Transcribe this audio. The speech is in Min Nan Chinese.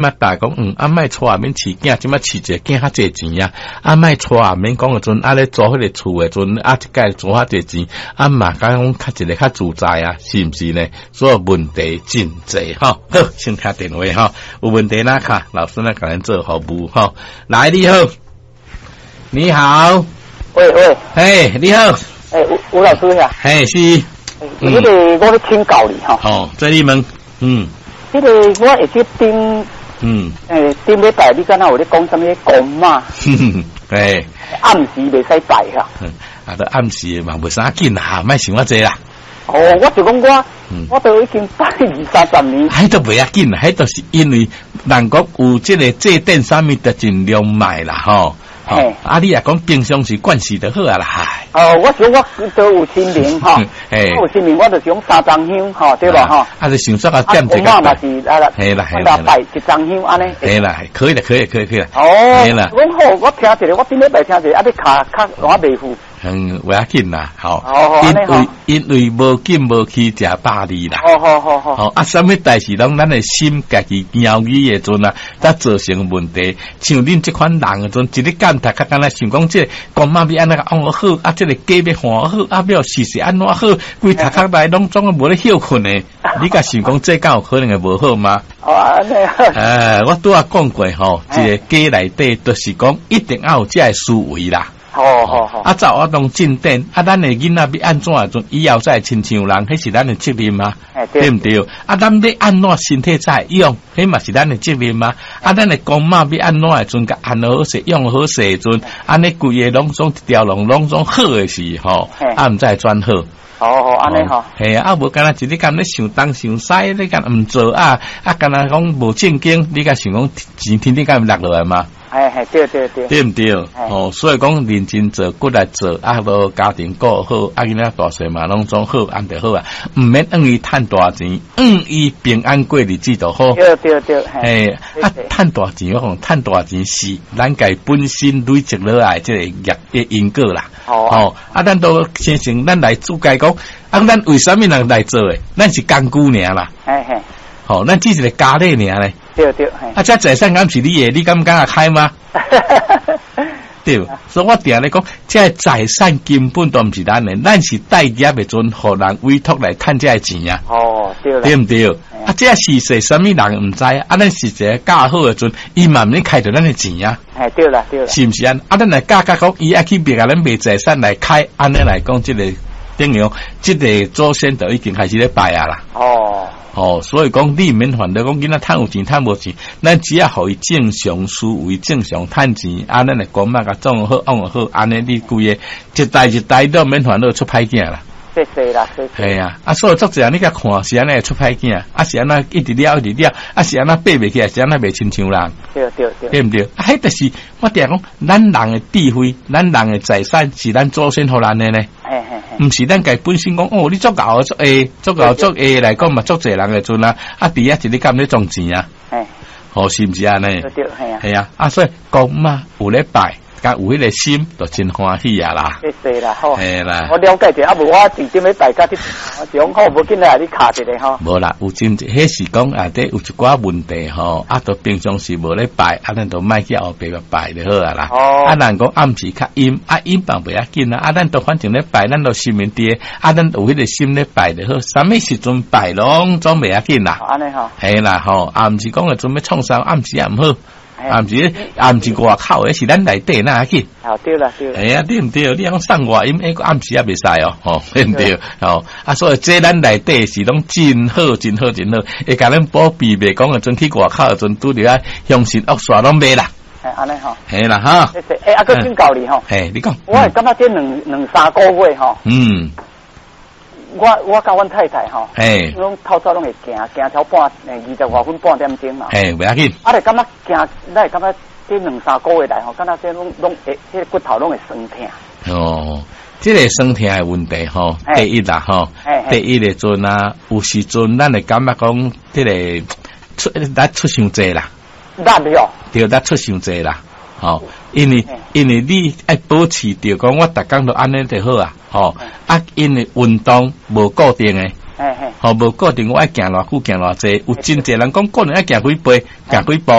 嘛大講，啊，莫娶免飼囝，這擺飼一個囝較濟錢啊，啊，莫娶免講的陣，啊咧租彼個厝的陣，啊，一蓋租較濟錢，啊嘛，敢講較一個較自在啊，是毋是呢？所以問題真濟吼。好，先聽電話吼，有問題哪敲，老師來共咱做服務吼。來，你好，你好，喂喂，嘿，你好，欸，吳吳老師呀，嘿，是，彼個我欲請教你吼，哦，這你問，彼個我會記頂，頂禮拜你敢若有咧講啥物公媽？嘿，暗時袂使拜哈。啊，都暗時嘛，袂啥緊啦，莫想遐濟啦。哦，我就講我，我都已經拜二三十年。彼都袂要緊啦，彼都是因為人講有這個祭典啥物，就盡量賣啦，吼。啊！你若講平常時慣勢就好啊啦。哦，我想我都有清明吼，我有清明，我就想三張香吼，對吧吼？啊，就想說啊，點一個。我嘛是啊啦，係啦係啦，拜一張香按呢。係啦，可以啦，可以，可以，可以啦。哦，係啦。阮好，我聽一下，我頂禮拜聽一下，啊，你卡卡我袂赴。嗯，袂要緊啦，吼。因為因為無緊無去食百二啦。好好好好。吼啊，啥物代誌攏咱的心家己枵去的陣啊，才造成問題。像恁這款人的陣，一日干讀較敢若想講這個公媽欲按怎按好，啊，這個雞欲換好，啊，欲時勢按怎好，規頭殼內攏總無咧歇睏的。你敢想講這敢有可能會無好嗎？哦，按呢。哎，我拄仔講過吼，一個家內底，就是講一定要有這个思維啦。好好好。啊，走我當進展，啊，咱的囡仔欲按怎的陣，以後才會親像人，彼是咱的責任啊，對毋對？啊，咱欲按怎身體才會勇，彼嘛是咱的責任啊。啊，咱的公媽欲按怎的陣，共按好勢，用好勢的陣，按呢規个攏總一條龍，攏總好的時吼，啊，毋才會轉好。好好，按呢吼。嘿啊，無敢若一日敢咧想東想西，你敢毋做啊？啊，敢若講無正經，你敢想講錢天頂敢會落落來嗎？嘿嘿，對對對，對毋對？哦，所以講認真做，骨力做，啊，無家庭顧好，啊，囡仔大細嘛攏總好，按就好啊。毋免怨伊趁大錢，怨伊平安過日子就好。對對對，嘿，啊，趁大錢我講趁大錢是咱家本身累積落來這個業的因果啦。哦，啊，咱都先成咱來主解講，啊，咱為啥物人來做的？咱是工具爾啦。嘿嘿。吼，咱只是個家裡爾咧。對對，啊，這財產敢是你的，你敢敢會開嗎？對，所以我定咧講，這財產根本都毋是咱的，咱是待業的陣，予人委託來趁這个錢啊。哦，對啦。對毋對？啊，這是說啥物人毋知啊？咱是一個教好的陣，伊嘛毋免開著咱的錢啊。哎，對啦，對啦。是毋是按呢？啊，咱來教教講，伊愛去別共咱賣財產來開，按呢來講，這個等於講，這個祖先就已經開始咧拜啊啦。哦。哦，所以講你毋免煩惱，講囡仔趁有錢趁無錢，咱只要予伊正常思維、正常趁錢，啊，咱的公媽共創好、按好，按呢你規个一代一代都免煩惱出歹囝啦。謝謝啦，謝謝。係啊，啊，所以足濟人你共看是按呢出歹囝，啊是按呢一直了一直了，啊是按呢爬袂起來，是按呢袂親像人。對對對。對毋對？啊，彼就是我定講，咱人的智慧，咱人的財產是咱祖先予咱的呢。嘿嘿嘿。毋是咱家本身講，哦，你足𠢕足下，足𠢕足下來講嘛，足濟人的陣啊，啊，佇遐一日敢咧賺錢啊？嘿。哦，是毋是按呢？對對，係啊。係啊，啊，所以公媽有咧拜。佮有彼個心，就真歡喜啊啦！謝謝啦，好。嘿啦，我了解者，啊無我直接欲大家去，講好無緊來你敲一下吼。無啦，有真濟，彼是講啊，這有一寡問題吼，啊，都平常時無咧拜，啊，咱都莫去後壁拜就好啊啦。哦。啊，人講暗時較陰，啊陰嘛袂要緊啊，啊，咱都反正咧拜，咱都心面佇，啊，咱有彼個心咧拜就好，啥物時陣拜攏總袂要緊啦。按呢吼。嘿啦吼，啊，毋是講會準欲創啥，暗時也毋好。啊，毋是，啊，毋是外口的，是咱內底哪要緊？哦，對啦，對啦。嘿啊，對毋對？你講送外音，欸，暗時也袂使哦，吼，對毋對？吼，啊，所以這咱內底是攏真好，真好，真好，會共咱保庇，袂講的陣去外口的陣拄著啊，凶神惡煞攏袂啦。嘿，按呢吼。嘿啦，哈。謝謝，欸，啊，閣請教你吼。嘿，你講。我會感覺這兩兩三個月吼。我我佮阮太太吼，攏透早攏會行行超半，二十外分半點鐘嘛。嘿，袂要緊。啊，就感覺行，咱會感覺這兩三個月來吼，感覺這攏攏會，這個骨頭攏會酸疼。哦，這個酸疼的問題吼，第一啦吼，第一的陣啊，有時陣咱會感覺講，這個出力出傷濟啦。力哦。對，力出傷濟啦。吼，因為因為你愛保持著講，我逐工都按呢就好啊，吼啊，因為運動無固定的，吼，無固定我愛行偌久，行偌濟，有真濟人講固定愛行幾步，行幾步。